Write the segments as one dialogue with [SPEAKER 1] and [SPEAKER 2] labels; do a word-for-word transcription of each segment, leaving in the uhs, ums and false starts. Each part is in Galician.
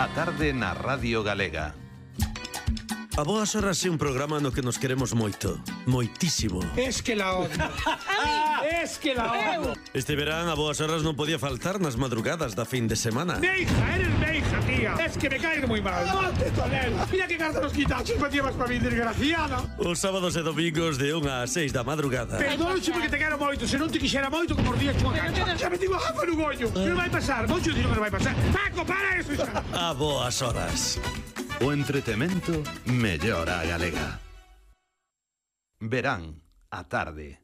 [SPEAKER 1] A tarde na Radio Galega.
[SPEAKER 2] A Boas Horas é un programa no que nos queremos moito, moitísimo.
[SPEAKER 3] Es que la odio. Es que la odio.
[SPEAKER 2] Este verán a Boas Horas non podía faltar nas madrugadas da fin de semana.
[SPEAKER 3] Meija, eres meija, tía. Es que me caes muy mal. ¡Ponte, Tonel! Mira que carta nos quitachos me llevas para mi desgraciada.
[SPEAKER 2] Os sábados e domingos de unha a seis da madrugada.
[SPEAKER 3] Perdónche porque te quero moito. Se non te quixera moito como os días chunha cancha. Xa me digo jafa no gollo. Que non vai pasar. Moito dino que non vai pasar. Paco, para eso xa.
[SPEAKER 2] A Boas Horas.
[SPEAKER 1] O entretemento mellora a galega. Verán a tarde.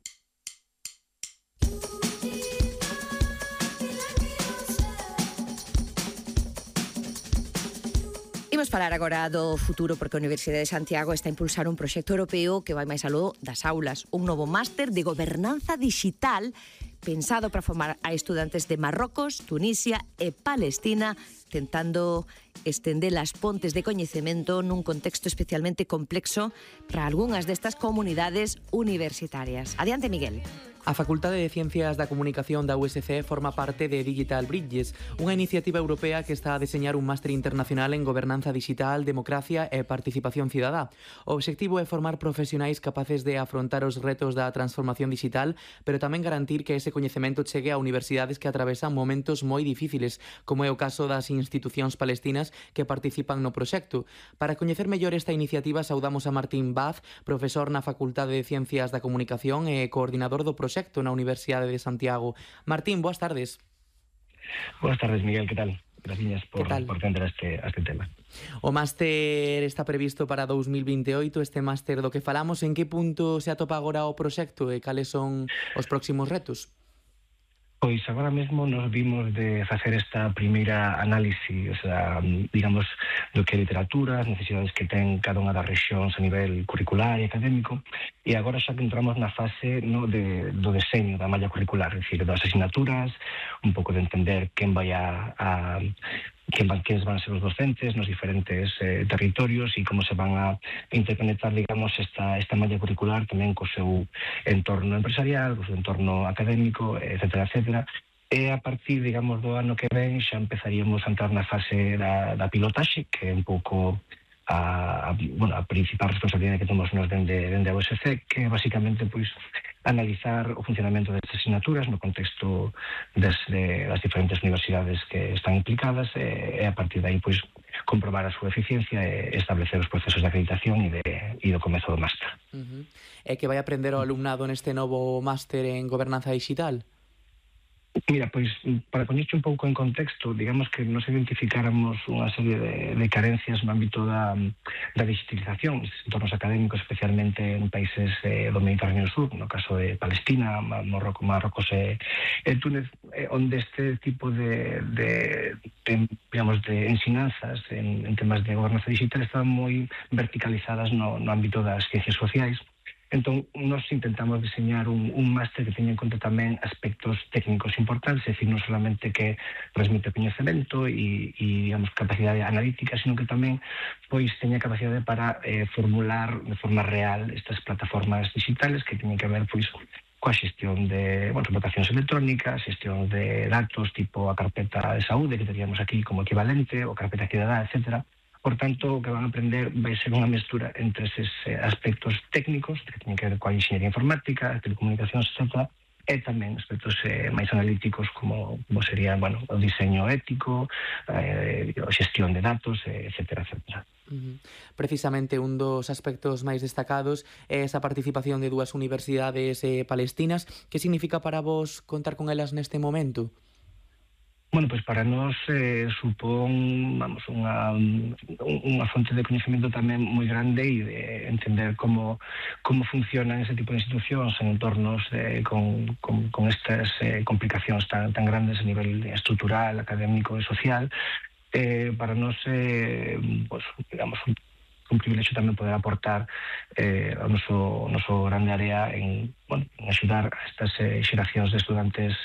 [SPEAKER 4] Imos falar agora do futuro porque a Universidade de Santiago está a impulsar un proxecto europeo que vai máis aló das aulas, un novo máster de gobernanza digital pensado para formar a estudantes de Marrocos, Tunisia e Palestina, tentando estender as pontes de coñecemento nun contexto especialmente complexo para algunhas destas comunidades universitarias. Adiante, Miguel.
[SPEAKER 5] A Facultade de Ciencias da Comunicación da U S C forma parte de Digital Bridges, unha iniciativa europea que está a deseñar un máster internacional en gobernanza digital, democracia e participación cidadá. O obxectivo é formar profesionais capaces de afrontar os retos da transformación digital, pero tamén garantir que ese coñecemento chegue a universidades que atravesan momentos moi difíciles, como é o caso das institucións palestinas que participan no proxecto. Para coñecer mellor esta iniciativa, saudamos a Martín Vaz, profesor na Facultade de Ciencias da Comunicación e coordinador do proxecto na Universidade de Santiago. Martín, boas tardes.
[SPEAKER 6] Boas tardes, Miguel, que tal? Gracias por, por atender a este, a este tema.
[SPEAKER 5] O máster está previsto para dous mil vinte e oito, este máster do que falamos. En que punto se atopa agora o proxecto e cales son os próximos retos?
[SPEAKER 6] Pois agora mesmo nos vimos de facer esta primeira análise, o sea, digamos, do que é literatura, as necesidades que ten cada unha das rexións a nivel curricular e académico, e agora xa que entramos na fase no, de, do deseño da malla curricular, é dicir, das asignaturas, un pouco de entender quen vai a... a quen van, quenes van a ser os docentes nos diferentes eh, territorios e como se van a interconectar, digamos, esta, esta malla curricular tamén co seu entorno empresarial, co seu entorno académico, etcétera, etcétera. E a partir, digamos, do ano que ven xa empezaríamos a entrar na fase da, da pilotaxe, que é un pouco a, a, bueno, a principal responsabilidade que temos nos dende, dende a U S C, que é basicamente, pois, analizar o funcionamento destas asignaturas no contexto das, de, das diferentes universidades que están implicadas e, e a partir de aí, pois, comprobar a súa eficiencia e establecer os procesos de acreditación e, de, e do comezo do máster.
[SPEAKER 5] Uh-huh. E que vai aprender o alumnado neste novo máster en gobernanza digital?
[SPEAKER 6] Mira, pois, para poñerche un pouco en contexto, digamos que nos identificáramos unha serie de, de carencias no ámbito da, da digitalización, entornos académicos, especialmente en países eh, do Mediterráneo Sur, no caso de Palestina, Marrocos, Marrocos e, e Túnez, eh, onde este tipo de, de, de, digamos, de ensinanzas en, en temas de gobernanza digital estaban moi verticalizadas no, no ámbito das ciencias sociais. Entón, nos intentamos diseñar un, un máster que teña en conta tamén aspectos técnicos importantes, é dicir, non solamente que transmite coñecemento e, e digamos, capacidade analítica, sino que tamén pois teña capacidade para eh, formular de forma real estas plataformas digitales que teñen que ver pois coa xestión de, bueno, votacións electrónicas, xestión de datos tipo a carpeta de saúde que teríamos aquí como equivalente, ou carpeta cidadá, etcétera. Por tanto, o que van a aprender vai ser unha mestura entre eses aspectos técnicos que teñen que ver coa enxeñería informática, telecomunicacións, etcétera, e tamén aspectos eh, máis analíticos como, como sería, bueno, o diseño ético, eh, a xestión de datos, eh, etcétera, etcétera.
[SPEAKER 5] Uh-huh. Precisamente un dos aspectos máis destacados é esa participación de dúas universidades eh, palestinas. Que significa para vos contar con elas neste momento?
[SPEAKER 6] Bueno, pois para nós eh, supón, vamos, unha, unha fonte de coñecemento tamén moi grande e de entender como, como funcionan ese tipo de institucións en entornos de, con, con, con estas eh, complicacións tan, tan grandes a nivel estrutural, académico e social. Eh, para nós, eh, pues, digamos, un, un privilexio tamén poder aportar eh, ao noso, noso grande área en, bueno, en axudar a estas eh, xeracións de estudantes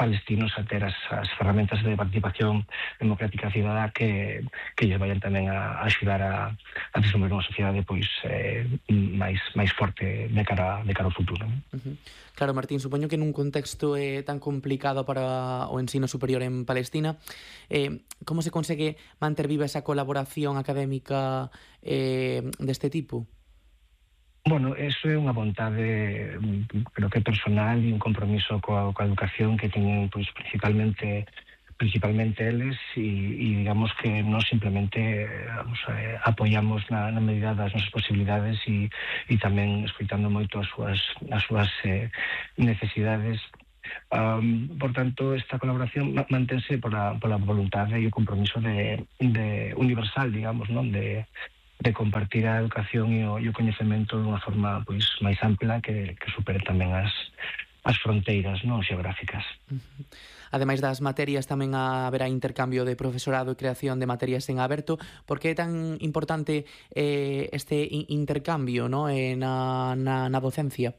[SPEAKER 6] palestinos a ter as, as ferramentas de participación democrática cidadá que, que lles vayan tamén a, a axudar a, a desenvolver unha sociedade pois eh, máis máis forte de cara de cara ao futuro.
[SPEAKER 5] Uh-huh. Claro, Martín, supoño que nun contexto eh, tan complicado para o ensino superior en Palestina, eh, como se consegue manter viva esa colaboración académica eh, deste tipo?
[SPEAKER 6] Bueno, eso é unha vontade, creo que personal e un compromiso coa, coa educación que teñen pois, principalmente principalmente eles e, e digamos que non simplemente vamos, eh, apoiamos na, na medida das nosas posibilidades e, e tamén escoitando moito as súas, as súas eh, necesidades. Um, por tanto, esta colaboración mantense pola, pola voluntade e o compromiso de, de universal, digamos, non de de compartir a educación e o, e o coñecemento dunha forma pois máis ampla que, que supere tamén as, as fronteiras non xeográficas.
[SPEAKER 5] Uh-huh. Ademais das materias tamén haberá intercambio de profesorado e creación de materias en aberto. Por que é tan importante eh, este intercambio no? eh, na, na, na docencia?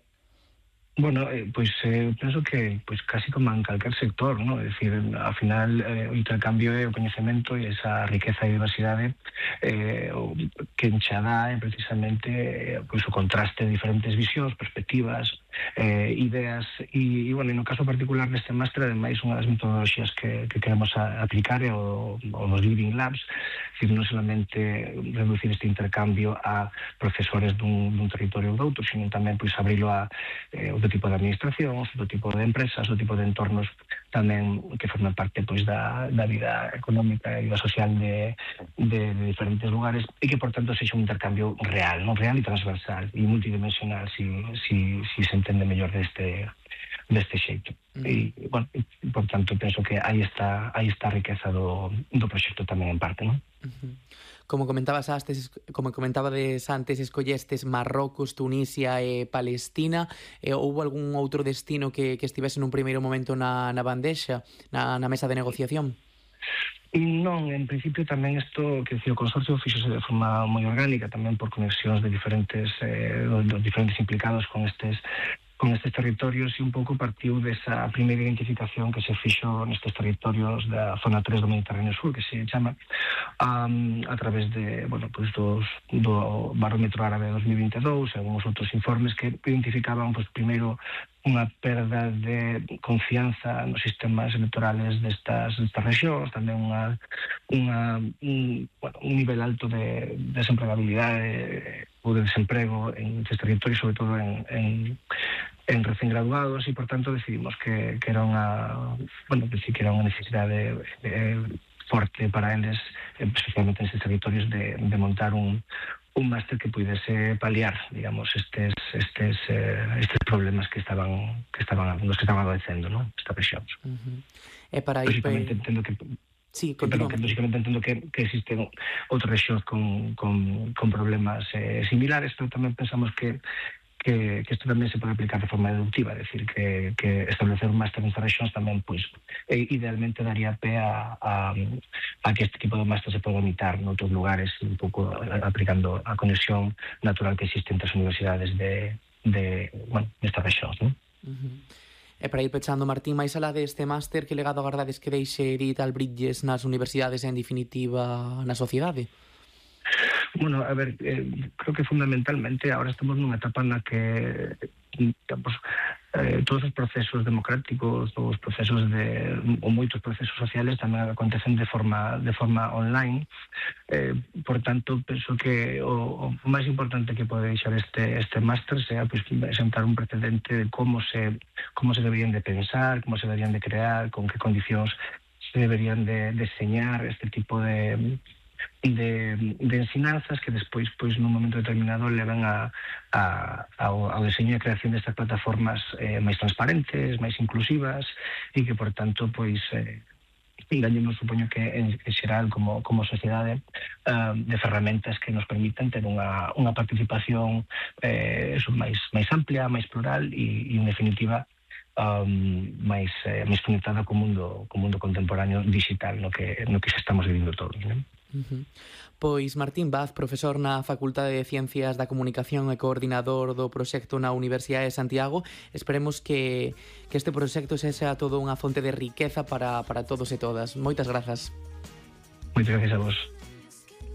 [SPEAKER 6] Bueno, eh, pois eh, penso que pois casi como en calquer sector, ¿no? É dicir, ao final eh, o intercambio e o coñecemento e esa riqueza e diversidade eh, o, que encha dá é precisamente eh, pois o contraste de diferentes visións, perspectivas, eh, ideas e, e, bueno, no caso particular deste máster, ademais, unha das metodoloxías que, que queremos a, aplicar é o, o dos Living Labs, é dicir, non solamente reducir este intercambio a profesores dun, dun territorio ou doutro, sino tamén pois abrilo a eh, outro tipo de administración, outro tipo de empresas, outro tipo de entornos tamén que forman parte pois da, da vida económica e da social de, de, de diferentes lugares e que, por tanto, sexa un intercambio real, non real e transversal e multidimensional, si, si, si se entende mellor deste deste xeito. Uh-huh. E, bueno, por tanto, penso que aí está aí está a riqueza do, do proxecto tamén en parte, non?
[SPEAKER 5] Uh-huh. Como comentabas antes, como comentabades antes, escollestes Marrocos, Tunisia e Palestina. Eh, houbo algún outro destino que, que estivese nun primeiro momento na, na bandexa, na, na mesa de negociación?
[SPEAKER 6] Non, en principio tamén isto, que o consorcio fixose de forma moi orgánica, tamén por conexións de diferentes eh, dos diferentes implicados con estes con estes territorios e un pouco partiu desa primeira identificación que se fixo nestes territorios da zona tres do Mediterráneo Sur, que se chama, um, a través de, bueno, pues dos, do Barómetro Árabe dos mil vinte e dous e algúns outros informes que identificaban, pues, primeiro, unha perda de confianza nos sistemas electorales destas, destas regións, tamén unha, unha, un, bueno, un nivel alto de desempregabilidade ou de desemprego en estes territorios, sobre todo en, en, en recén graduados, e, por tanto, decidimos que, que era unha, bueno, decir, que era unha necesidade eh, forte para eles, especialmente en estes territorios, de, de montar un un máster que puidese paliar, digamos, estes estes eh, estes problemas que estaban que estaban nos que estaban padecendo, ¿no? Estas rexións.
[SPEAKER 5] Uh-huh. E para ir
[SPEAKER 6] Básicamente, entendo que
[SPEAKER 5] Sí,
[SPEAKER 6] pero que básicamente entendo que, que existen outras rexións con, con, con problemas eh, similares, pero tamén pensamos que que, que isto tamén se pode aplicar de forma deductiva, é dicir, que, que establecer un máster nestas rexións tamén, pois, eh, idealmente daría pé a, a, a que este tipo de máster se pode imitar noutros lugares, un pouco aplicando a conexión natural que existe entre as universidades de, de bueno, nestas rexións, non?
[SPEAKER 5] Uh-huh. E para ir pechando, Martín, máis alá deste máster, que legado agardades que deixe Digital Bridges nas universidades e, en definitiva, na sociedade?
[SPEAKER 6] Bueno, a ver, eh, creo que fundamentalmente ahora estamos nunha etapa na que, digamos, eh, todos os procesos democráticos, todos os procesos de, ou moitos procesos sociales tamén acontecen de forma de forma online. Eh, por tanto, penso que o, o máis importante que pode deixar este este máster sea, pues, sentar un precedente de como se como se deberían de pensar, como se deberían de crear, con que condicións se deberían de deseñar este tipo de De, de ensinanzas que despois, pois, nun momento determinado levan a, a, ao, ao diseño e creación destas plataformas eh, máis transparentes, máis inclusivas e que, por tanto, pois, eh, engañemos, supoño que en, en xeral como, como sociedade uh, de ferramentas que nos permitan ter unha, unha participación eh, eso, máis, máis amplia, máis plural e, e en definitiva, um, máis, eh, máis conectada co mundo, co mundo contemporáneo digital no que, no que xa estamos vivindo todos, non?
[SPEAKER 5] Uh-huh. Pois Martín Vaz, profesor na Facultade de Ciencias da Comunicación e coordinador do proxecto na Universidade de Santiago, esperemos que, que este proxecto sexa todo unha fonte de riqueza para, para todos e todas. Moitas grazas.
[SPEAKER 6] Moitas gracias a vos.